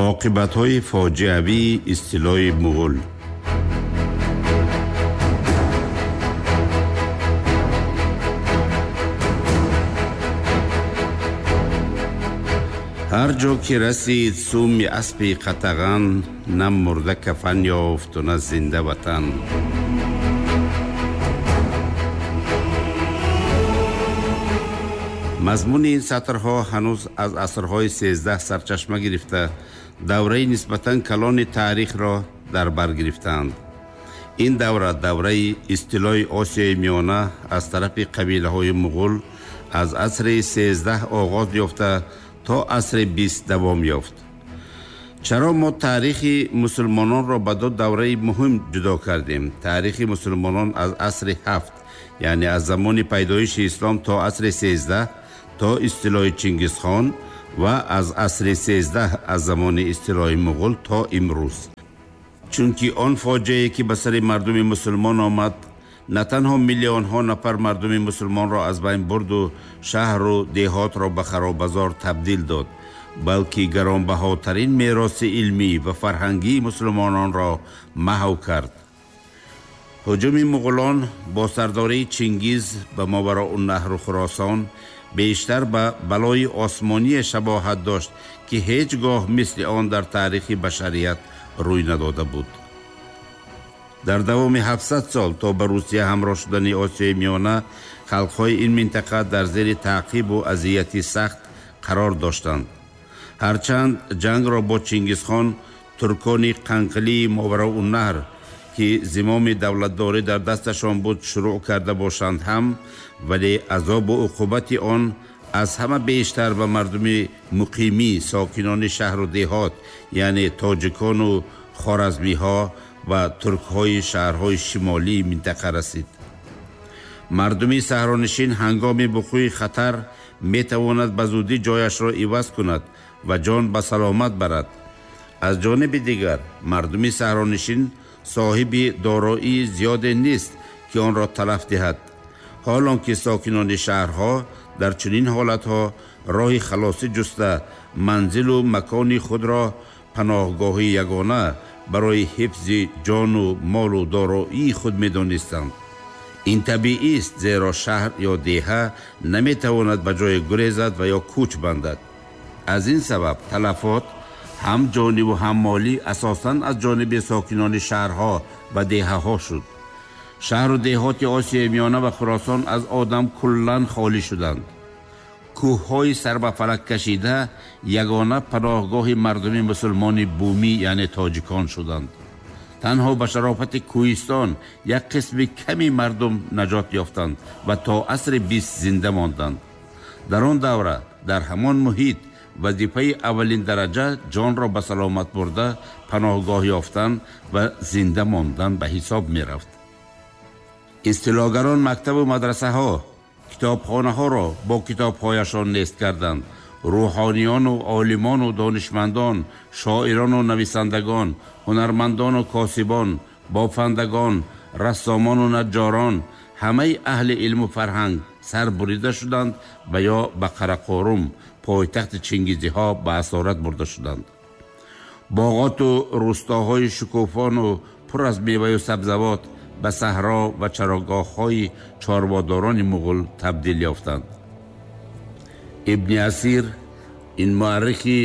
Оқибатҳои фоҷиавии истилои муғул. Ҳар ҷо ки расид суми аспи қатаған, на мурда кафан ёфту на зинда ватан. Мазмуни ин сатрҳо ҳанӯз аз асрҳои 13 сарчашма гирифта, давраи нисбатан калони таърихро дар бар гирифтаанд. Ин давра давраи истилои Осиёи Миёна аз тарафи қабилаҳои муғул аз асри 13 оғоз ёфта то асри 20 давом ёфт. Чаро мо таърихи мусулмононро ба ду давраи муҳим ҷудо кардем? Таърихи мусулмонон аз асри 7, яъне аз замони пайдоиши ислом то асри 13, то истилои Чингизхон, ва аз асри 13 аз замони истилои муғул то имрӯз. Чунки он фоҷиае ки ба сари мардуми мусулмон омад, на танҳо миллионҳо нафар мардуми мусулмонро аз байн бурду шаҳру деҳотро ба харобазор табдил дод, балки гаронбаҳотарин мероси илмӣ ва фарҳангии мусулмононро маҳв кард. Ҳуҷуми муғулон бо сардории Чингиз ба Мовароуннаҳру Хуросон бештар ба балои осмоние шабоҳат дошт, ки ҳеҷ гоҳ мисли он дар таърихи башарият рӯй надода буд. Дар давоми 700 сол то ба Русия ҳамроҳ шудани Осиёи Миёна, халқҳои ин минтақа дар зери таъқибу азияти сахт қарор доштанд. Ҳарчанд ҷангро бо Чингизхон туркони қанқилии Мовароуннаҳр, ки зимоми давлатдорӣ дар дасташон буд, шурӯъ карда бошанд ҳам, вале азобу уқубати он аз ҳама бештар ба мардуми муқимӣ, сокинони шаҳру деҳот, яъне тоҷикону хоразмиҳо ва туркҳои шаҳрҳои шимолии минтақа расид. Мардуми саҳронишин ҳангоми вуқӯи хатар метавонад ба зудӣ ҷояшро иваз кунад ва ҷон ба саломат барад. Аз ҷониби дигар, мардуми саҳронишин соҳиби дороии зиёде нест, ки онро талаф диҳад. Ҳолон ки сокинони шаҳрҳо дар чунин ҳолатҳо роҳи халосӣ ҷуста, манзилу макони худро паноҳгоҳи ягона барои ҳифзи ҷону молу дороии худ медонистанд. Ин табиист, зеро шаҳр ё деҳа наметавонад ба ҷое гурезад ва ё кӯч бандад. Аз ин сабаб талафот ҳам ҷониву ҳам молӣ асосан аз ҷониби сокинони шаҳрҳо ва деҳаҳо шуд. Шаҳру деҳоти Осиёи Миёна ва Хуросон аз одам куллан холӣ шуданд. Кӯҳҳои сарбафалак кашида ягона паноҳгоҳи мардуми мусулмони бумӣ, яъне тоҷикон шуданд. Танҳо ба шарофати кӯҳистон як қисми ками мардум наҷот ёфтанд ва то асри 20 зинда монданд. Дар он давра, дар ҳамон муҳит, вазифаи аввалин дараҷа ҷонро ба саломат бурда, паноҳгоҳ ёфтан ва зинда мондан ба ҳисоб мерафт. Истилогарон мактабу мадрасаҳо, китобхонаҳоро бо китобҳояшон нест карданд. Рӯҳониёну олимону донишмандон, шоирону нависандагон, ҳунармандону косибон, бофандагон, рассомону наҷҷорон, ҳамаи аҳли илму фарҳанг сар бурида шуданд ва ё ба Қарақорум, пойтахти Чингизиҳо, ба асорат бурда шуданд. Боғоту рӯстоҳои шукуфону пур аз меваю сабзавот ба саҳро ва чарогоҳҳои чорводорони муғул табдил ёфтанд. Ибни Асир, ин муаррихи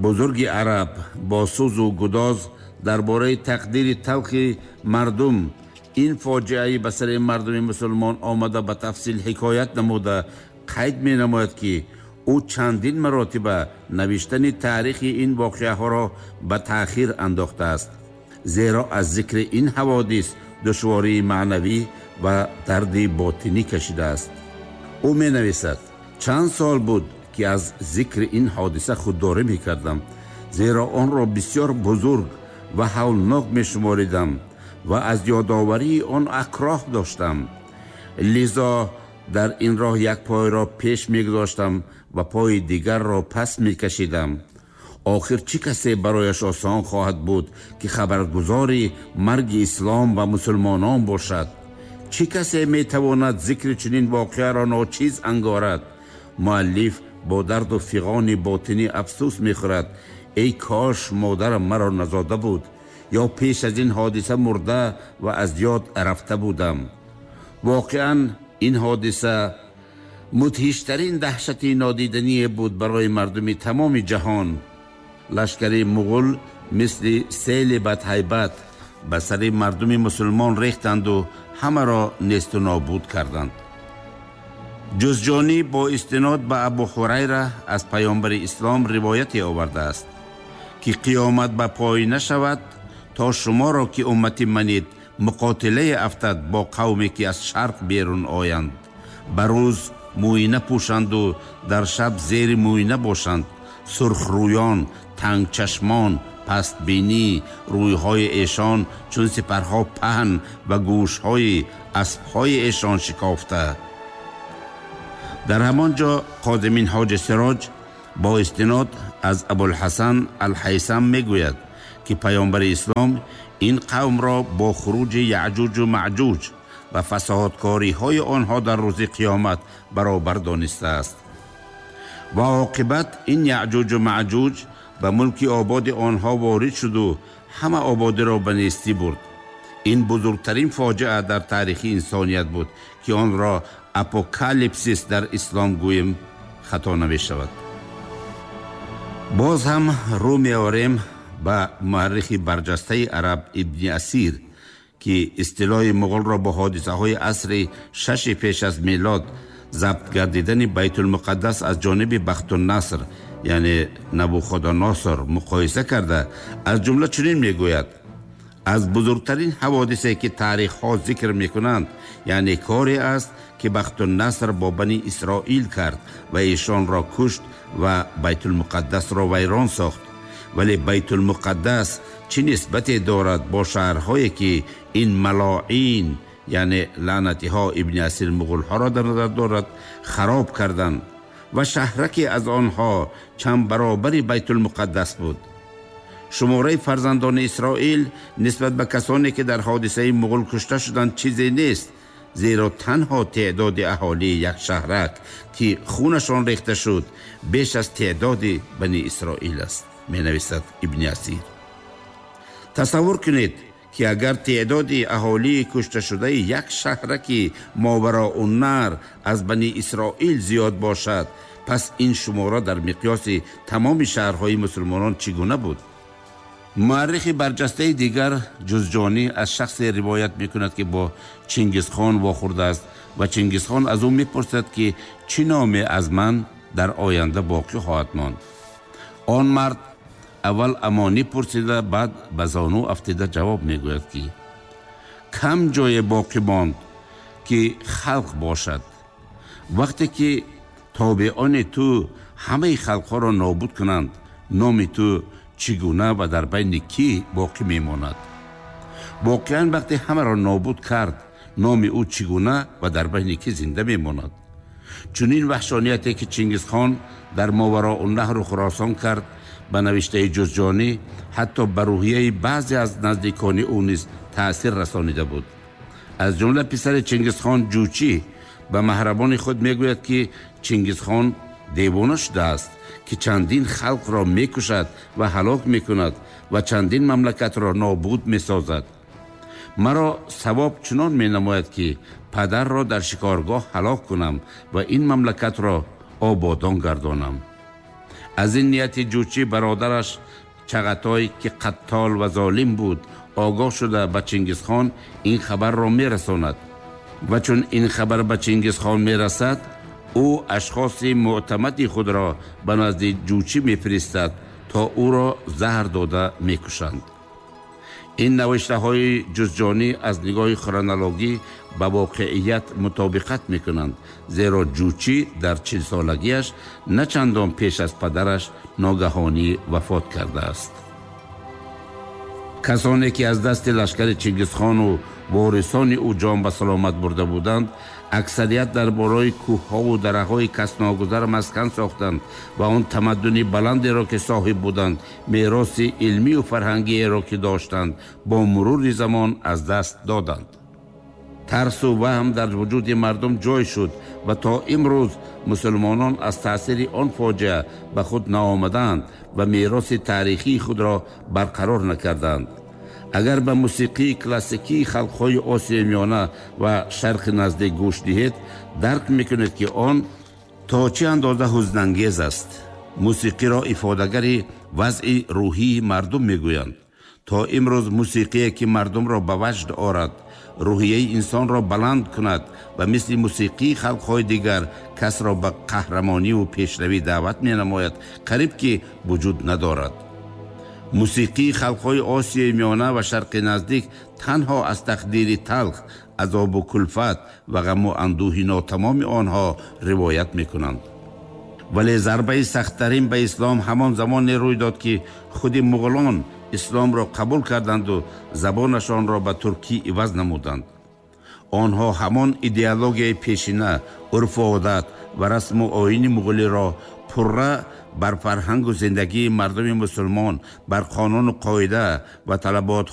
бузурги араб, бо сӯзу гудоз дар бораи тақдири талхи мардум, ин фоҷиаи ба сари мардуми мусулмон омада ба тафсил ҳикоят намуда, қайд менамояд, ки ӯ чандин маротиба навиштани таърихи ин воқеаҳоро ба таъхир андохтааст, зеро аз зикри ин ҳаводис душвории маънавӣ ва дарди ботинӣ кашидааст. Ӯ менависад: чанд сол буд, ки аз зикри ин ҳодиса худдорӣ мекардам, зеро онро бисёр бузург ва ҳавлнок мешуморидам ва аз ёдоварии он акроҳ доштам. Лизо дар ин роҳ як пойро пеш мегузоштам ва пои дигарро пас мекашидам. Охир чӣ касе барояш осон хоҳад буд, ки хабаргузори марги ислом ва мусулмонон бошад? Чӣ касе метавонад зикри чунин воқеаро ночиз ангорад? Муаллиф бо дарду фиғони ботинӣ афсӯс мехӯрад: Эй кош модарам маро назода буд ё пеш аз ин ҳодиса мурда ва аз ёд рафта будам. Воқеан ин ҳодиса мудҳиштарин даҳшати нодидание буд барои мардуми тамоми ҷаҳон. Лашкари муғул мисли сели бадҳайбат ба сари мардуми мусулмон рехтанду ҳамаро несту нобуд карданд. Ҷузҷонӣ бо истинод ба Абу Ҳурайра аз паёмбари ислом ривояте овардааст, ки қиёмат ба пой нашавад то шуморо, ки уммати манед, муқотилае афтад бо қавме, ки аз шарқ берун оянд, ба рӯз мӯйна пӯшанду дар шаб зери мӯйна бошанд, сурхрӯён, тангчашмон, пастбинӣ, рӯйҳои эшон чун сипарҳо паҳн ва гӯшҳои аспҳои эшон шикофта. Дар ҳамон ҷо Қози Минҳоҷи Сироҷ бо истинод аз Абулҳасан Алҳайсам мегӯяд, ки паёмбари ислом ин қавмро бо хуруҷи Яъҷуҷу Маъҷуҷ ва фасоҳаткориҳои онҳо дар рӯзи қиёмат баробар донистааст. Ва оқибат ин Яъҷуҷу Маъҷуҷ ба мулки ободи онҳо ворид шуду ҳама ободиро ба нестӣ бурд. Ин бузургтарин фоҷиа дар таърихи инсоният буд, ки онро апокалипсис дар ислом гӯем хато намешавад. Боз ҳам рӯ меорем ба муаррихи барҷастаи араб Ибни Асир, ки истилоҳи муғулро бо ҳодисаҳои асри шаши пеш аз милод, забт гардидани Байтулмуқаддас аз ҷониби Бахтуннаср, яъне Набуходоносор, муқоиса карда, аз ҷумла чунин мегӯяд: аз бузургтарин ҳаводисе, ки таърихҳо зикр мекунанд, яъне коре аст, ки Бахтуннаср бо Бани Исроил кард ва эшонро кушт ва Байтулмуқаддасро вайрон сохт. Вале Байтулмуқаддас чӣ нисбате дорад бо шаҳрҳое, ки ин малоин, яъне лаънатиҳо, Ибни Асир муғулҳоро дар назар дорад, хароб карданд ва шаҳраке аз онҳо чанд баробари Байтулмуқаддас буд. Шумораи фарзандони Исроил нисбат ба касоне, ки дар ҳодисаи муғул кушта шуданд, чизе нест, зеро танҳо теъдоди аҳолии як шаҳрак, ки хунашон рехта шуд, беш аз теъдоди Бани Исроил аст, менависад Ибни Асир. Тасаввур кунед, ки агар теъдоди аҳолии кушташудаи як шаҳраки Мовароуннаҳр аз Бани Исроил зиёд бошад, пас ин шумора дар миқёси тамоми шаҳрҳои мусулмонон чӣ гуна буд? Муаррихи барҷастаи дигар Ҷузҷонӣ аз шахсе ривоят мекунад, ки бо Чингизхон вохӯрдааст ва Чингизхон аз ӯ мепурсад, ки чӣ номе аз ман дар оянда боқӣ хоҳад монд. Он мард аввал амонӣ пурсида, баъд ба зону афтида ҷавоб мегӯяд, ки кам ҷое боқӣ монд, ки халқ бошад. Вақте ки тобеони ту ҳамаи халқҳоро нобуд кунанд, номи ту чӣ гуна ва дар байни кӣ боқӣ мемонад? Воқеан вақте ҳамаро нобуд кард, номи ӯ чӣ гуна ва дар байни кӣ зинда мемонад? Чунин ваҳшонияте, ки Чингизхон дар Мовароуннаҳру Хуросон кард, ба навиштаи Ҷузҷонӣ ҳатто ба рӯҳияи баъзе аз наздикони ӯ низ таъсир расонида буд. Аз ҷумла писари Чингизхон Ҷучӣ ба маҳрабони худ мегӯяд, ки Чингизхон девона шудааст, ки чандин халқро мекушад ва ҳалок мекунад ва чандин мамлакатро нобуд месозад. Маро савоб чунон менамояд, ки падарро дар шикоргоҳ ҳалок кунам ва ин мамлакатро ободон гардонам. Аз ин нияти Ҷучӣ бародараш Чағатой, ки қаттол ва золим буд, огоҳ шуда ба Чингизхон ин хабарро мерасонад. Ва чун ин хабар ба Чингизхон мерасад, ӯ ашхоси мӯътамади худро ба назди Ҷучӣ мефиристад, то ӯро заҳр дода мекушанд. Ин навиштаҳои Ҷузҷонӣ аз нигоҳи хронологӣ ба воқеият мутобиқат мекунанд, зеро Ҷучӣ дар чилсолагиаш на чандон пеш аз падараш ногаҳонӣ вафот кардааст. Касоне, ки аз дасти лашкари Чингизхону ворисони ӯ ҷон ба саломат бурда буданд, аксарият дар болои кӯҳҳову дараҳои касногузар маскан сохтанд ва он тамаддуни баландеро, ки соҳиб буданд, мероси илмию фарҳангиеро, ки доштанд, бо мурури замон аз даст доданд. Тарсу ваҳм дар вуҷуди мардум ҷой шуд ва то имрӯз мусулмонон аз таъсири он фоҷиа ба худ наомадаанд ва мероси таърихии худро барқарор накардаанд. Агар ба мусиқии классикии халқҳои Осиёи Миёна ва Шарқи Наздик гӯш диҳед, дарк мекунед, ки он то чӣ андоза ҳузнангез аст. Мусиқиро ифодагари вазъи рӯҳии мардум мегӯянд. То имрӯз мусиқие, ки мардумро ба ваҷд орад, рӯҳияи инсонро баланд кунад ва мисли мусиқии халқҳои дигар касро ба қаҳрамониву пешравӣ даъват менамояд, қариб ки вуҷуд надорад. Мусиқии халқҳои Осиёи Миёна ва Шарқи Наздик танҳо аз тақдири талх, азобу кулфат ва ғаму андӯҳи нотамоми онҳо ривоят мекунанд. Вале зарбаи сахттарин ба ислом ҳамон замоне рӯй дод, ки худи муғулон исломро қабул карданду забонашонро ба туркӣ иваз намуданд. Онҳо ҳамон идеологияи пешина, урфу одат ва расму оини муғулиро пурра бар фарҳангу зиндагии мардуми мусулмон, бар қонуну қоида ва талабот